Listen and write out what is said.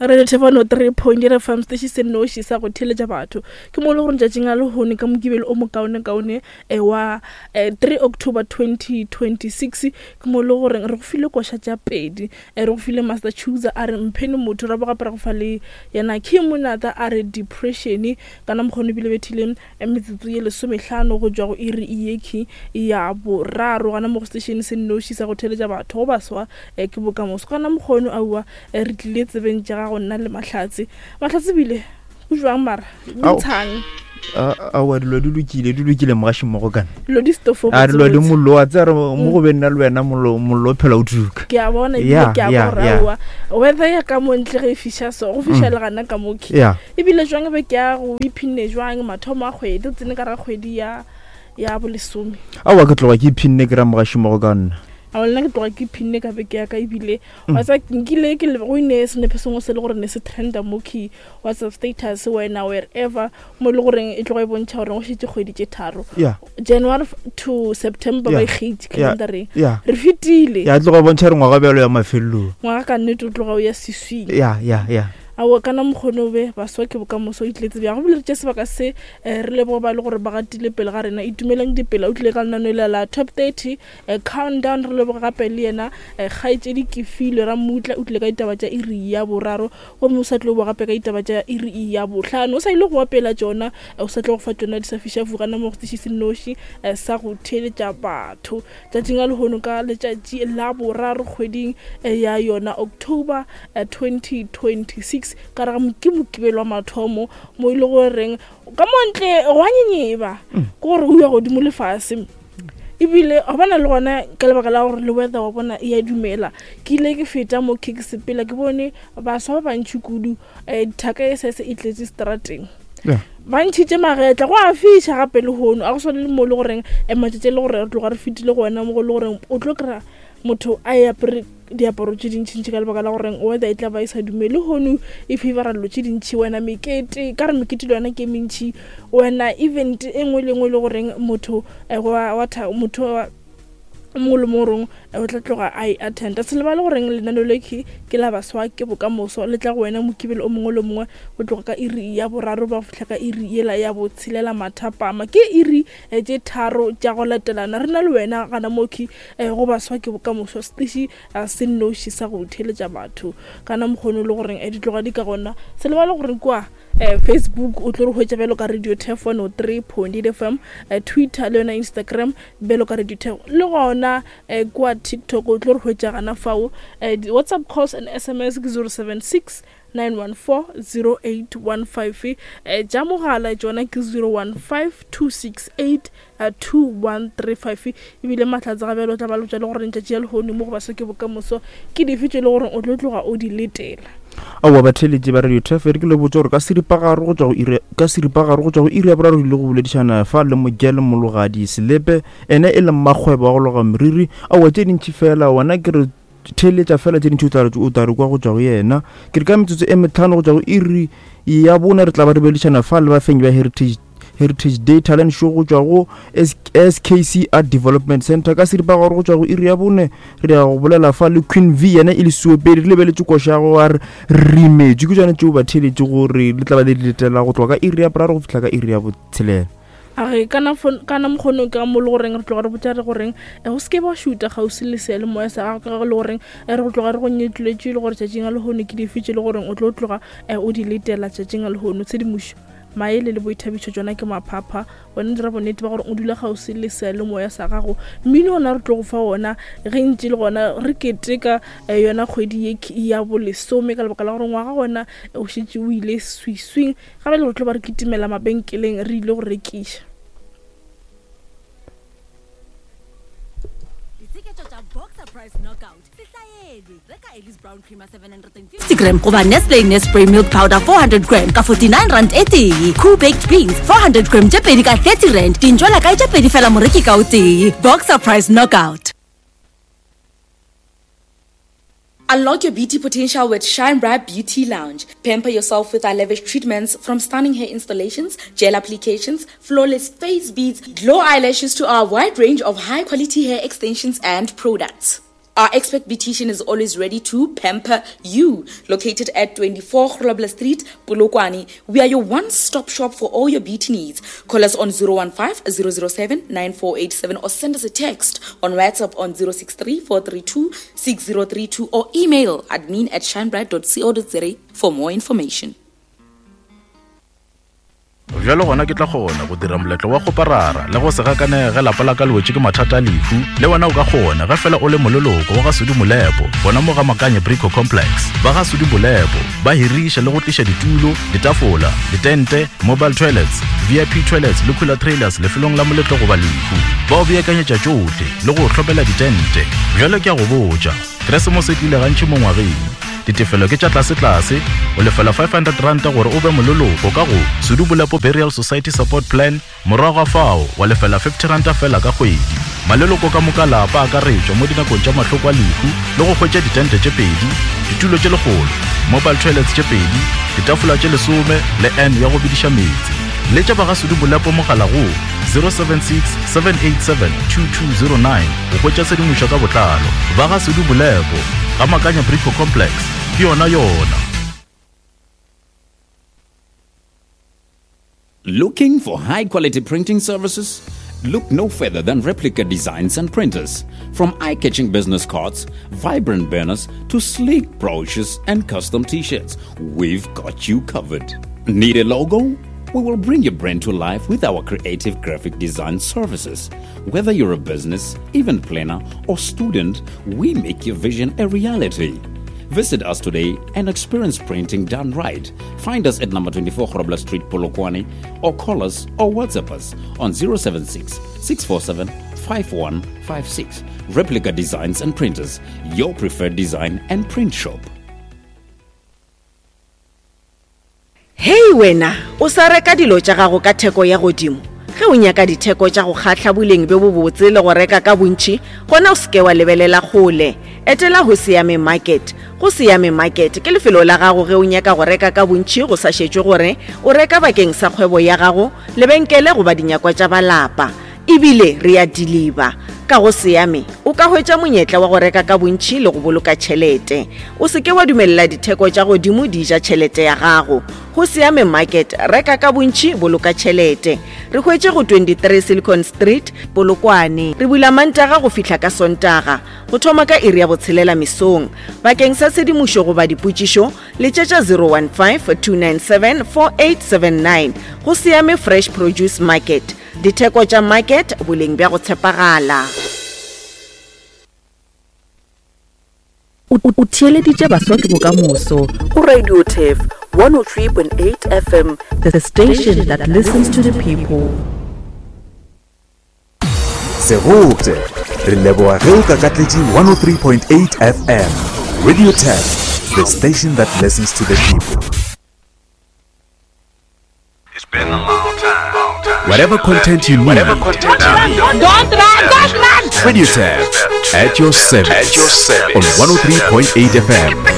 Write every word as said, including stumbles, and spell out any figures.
Radio Thefano three point eight F M station se noši sa go theeletša batho. Ke mo le gore tšatšing la lehono ka Mokibelo o mokaonekaone, eh, wa, eh, three October twenty twenty-six, ke mo le gore re go file koša tša pedi, eh, re go file Master Chooser a re mphene motho, ra bo gape ra go fa le yena King Monata a re depression. Kana mokgono ebile bethile, eh, metsotso ye lesomehlano go tšwa go iri ye ki ya boraro gana mo go station se noši sa go theeletša batho go baswa, eh, ke bokamoso. Kana mokgono aowa, eh, re tlile tsebeng tša gago nna le Mahlatse. Mahlatse bile go jwang mara? Ao. Ntshang. A, aowa, dilo di lokile, di lokile mogaši mmogo kana. Dilo di stofo A, dilo di botsebotse. mollo, wa tseba re mo go be nna le wena mollo, mollo o phela o tuka. Ke a bona ebile Ya, ke a ya, bona ya. aowa. Weather ya ka mo ntle ge e fiša so, go fiša Mm. le gana ka mo ke. Ya. Ebile jwang be ke ya go iphinne jwang mathomo a kgwedi, o tsene ka ra kgwedi ya, ya bolesome. Aowa, ke tloga ke iphinne ke ra mogaši mmogo ka nna. Aowa, le nna ke tloga ke iphinne ka beke ya ka ebile, Mm. wa tseba, nkile ke le, go ine senepe sengwe se le gore ne se trenda mo ke WhatsApp status wena wherever, mo e le goreng e tloga e bontšha gore go šetše kgwedi tše tharo. Yeah. January f-, to September ba Yeah. e kgetše Yeah. calendareng. Yeah. Re fetile. Ya, e tloga e bontšha gore ngwaga bjalo ya mafelelong. Ngwaga ka nnete o tloga o ya seswing. Ya, ya, ya. Aowa, kana mokgono be baswa ke bokamoso o itletse bjang. Go bile re tše sebaka se, eh, re leboge ba le gore ba gatile pele ga rena. Itumeleng dipela, o tlile ka lenaneo le la top thirty, eh, countdown. Re leboge gape le yena, eh, kgaetšedi Kefilwe Ramutla, o tlile ka ditaba tša iri ya boraro, gomme o sa tlo boa gape ka ditaba tša iri ya bohlano. O sa ile go opela tšona, eh, o sa tlo go fa tšona di sa fiša fuga na mo go setiši se nnoši, eh, sa go theeletša batho. Tšatšing la lehono ka letšatši la boraro kgweding, eh, ya yona October, eh, twenty twenty-six, ka re ga mo-, ke Mokibelo wa mathomo mo e le goreng ka mo ntle go a nyenyeba, Mm. ke gore o ya godimo lefase. Ebile wa bona le gona ka lebaka la gore le weather wa bona e a dumela. Ke ile ke feta mo ke sepela ke bone baswa ba bantši kudu, eh, dithaka e sese e tletše strateng. Yeah. Ba ntšhitše magetla, go a fiša gape lehono. A go swane le mo e le goreng, eh, matšatši a le gore re tloga re fetile go wena mo go le goreng o tlo kry-a motho a e apere diaparo tše dintšintši ka lebaka la goreng weather e tla ba e sa dumele. Lehono e favora dilo tše dintši, wena mekete, ka re mekete le yona ke e mentši, wena event e nngwe le nngwe e le goreng motho, eh, wa, wa tha-, motho wa, o mongwe le mongwe goreng, eh, o tla tloga a e attenda. Se lebale goreng lenaneo le ke, ke la baswa ke bokamoso, le tla go wena Mokibelo o mongwe le mongwe go tloga ka iri ya boraro ba go fihla ka iri yela ya botshelela mathapama. Ke iri, eh, tše tharo tša go latelana re na le wena gana mo ke, eh, go baswa ke bokamoso, setiši, eh, se nnoši sa go theeletša batho. Kana mokgono le goreng, eh, di tloga di ka gona. Se lebale goreng kwa, eh, Facebook o tlo re hwetša bjalo ka Radio Turf one oh three point eight F M, eh, Twitter le yona Instagram bjalo ka Radio Turf, le gona, eh, kwa TikTok o tlo re hwetša gana fao. Eh, di WhatsApp calls and S M S ke zero seven six nine one four zero eight one five, eh, tša mogala tšona ke zero one five two six eight, eh, two one three five. Ebile Mahlatse ga bjalo o tla ba le botša le gore letšatši la lehono mo go baswa ke bokamoso ke dife tše e le gore o tlo tloga o di letela. Aowa, batheeletši ba Radio Turf, re ke le botša gore ka seripagare go tšwa go iri, ka seripagare go tšwa go iri ya boraro ile go boledišana fa le Mogele Mologadi Selepe, ene e le mmakgwebo wa go loga meriri. Aowa, tše dintši fela, wena ke re theeletša fela tše dintši o tla re, o tla re kwa go tšwa go yena. Ke re ka metsotso e metlhano go tšwa go iri ya bone re tla ba re boledišana fa le bafenyi ba Heritage, Heritage Day Talent Show go tšwa go S-, S K C Art Development Center. Ka seripagare go tšwa go iri ya bone re ya go bolela fa le Queen V, yena e le seopedi, re lebeletše koša ya go a re rimetše. Ke tšona tšeo batheeletši gore le tla ba le di letela go tloga ka iri ya boraro go fihla ka iri ya botshelela. A re, kana fo-, kana mokgono ka mo le goreng re tloga re botša re goreng, eh, o se ke wa šuta kgauswi le seyalemoya sa gago, ka ge le goreng, eh, re go tloga re go nyetlwetše le gore tšatšing la lehono ke dife tše le goreng o tlo tloga, eh, o di letela tšatšing la lehono. Tshedimošo, maele le boithabišo tšona ke maphapha. Wena dira bonnete ba gore o dula kgauswi le seyalemoya sa gago. Mmino ona re tlo go fa ona ge ntše le gona re keteka, eh, yona kgwedi ye ke ya bolesome, ka lebaka la gore ngwaga gona, eh, o šetše o ile swiswing. Gape le re tlo ba re kitimela mabenkeleng re ile go rekiša. Ditsheketšo tša Boxer Price Knockout. Sehlaelwe. Reka Ellis Brown Creamer seven hundred and fifty gram goba Nestle Nespray Milk Powder four hundred gram ka forty-nine rand e tee. Cool Baked Beans four hundred gram tše pedi ka thirty rand. Dintšwela kae tše pedi fela moreki ka o tee. Boxer Price Knockout. Unlock your beauty potential with Shine Bright Beauty Lounge. Pamper yourself with our lavish treatments, from stunning hair installations, gel applications, flawless face beads, glow eyelashes to our wide range of high-quality hair extensions and products. Our expert beautician is always ready to pamper you. Located at twenty-four Grobler Street, Polokwane, we are your one-stop shop for all your beauty needs. Call us on zero one five, zero zero seven, nine four eight seven or send us a text on WhatsApp on zero six three, four three two, six zero three two or email admin at shinebright dot co dot za for more information. Bjalo gona ke tla kgona go dira moletlo wa kgoparara le go se gakanege lapa la ka le wetše ke mathata a lehu. Le wena o ka kgona ge fela o le moleloko wa ga Sudi Molepo, gona mo ga Makanye Brico Complex. Ba ga Sudi Molepo ba hiriša le go tliša ditulo, ditafola, ditente, mobile toilets, V I P toilets le cooler trailers lefelong la moletlo goba lehu. Ba o beakanyetša tšohle le go hlopela ditente. Bjalo ke a go botša, Keresemose e tlile gantši mo ngwageng. Ditefelo ke tša tlase-tlase, o lefela five hundred rand gore o be moleloko ka go Sudi Molepo Burial Society Support Plan, morago ga fao wa lefela fifty rand fela ka kgwedi. Maleloko ka moka lapa a akaretšwa mo dinakong tša mahloko a lehu le go hwetša ditente tše pedi, ditulo tše lekgolo, mobile toilets tše pedi, ditafola tše lesome le N ya go bediša meetse. Letša ba ga Sudi Molepo mogala go zero seven six, seven eight seven, two two zero nine go hwetša tshedimošo ka botlalo. Ba ga Sudi Molepo, ga Makanya Brico Complex, ke yona yona. Looking for high-quality printing services? Look no further than Replica Designs and Printers. From eye-catching business cards, vibrant banners, to sleek brochures and custom t-shirts, we've got you covered. Need a logo? We will bring your brand to life with our creative graphic design services. Whether you're a business, event planner, or student, we make your vision a reality. Visit us today and experience printing done right. Find us at number twenty-four Grobler Street, Polokwane, or call us or WhatsApp us on zero seven six, six four seven, five one five six. Replica Designs and Printers, your preferred design and print shop. Hey wena, o sa reka dilo tša gago ka theko ya godimo. Ge o nyaka ditheko tša go kgahla boleng bjo bobotse le go reka ka bontši, gona o seke wa lebelela kgole. Etela go Siame Market. Go Siame Market ke lefelo la gago ge o nyaka go reka ka bontši go sa šetšwe gore o reka bakeng sa kgwebo ya gago, lebenkele goba dinyakwa tša balapa. Ebile re a deliver. Ka go Siame o ka hwetša monyetla wa go reka ka bontši le go boloka tšhelete. O seke wa dumelela ditheko tša godimo di ja tšhelete ya gago. Go Siame Market, reka ka bontši, boloka tšhelete. Re hwetše go twenty-three Silicon Street, Polokwane. Re bula Mantaga go fihla ka Sontaga, go thoma ka iri ya botshelela mesong. Bakeng sa tshedimošo goba dipotšišo, letšetša zero one five, two nine seven, four eight seven nine. Go Siame Fresh Produce Market. Ditheko tša market, boleng bja go tshepagala. O theeleditše Baswa ke Bokamoso go Radio Turf one oh three point eight F M, the station that listens to the people. Segopte, re leboga ge o kakatletše one oh three point eight F M. Radio Turf, the station that listens to the people. It's been a long time. Long time. Whatever content you need. Whatever content you need. Don't run, don't run. Radio Turf, at your service. At your service. On one oh three point eight F M.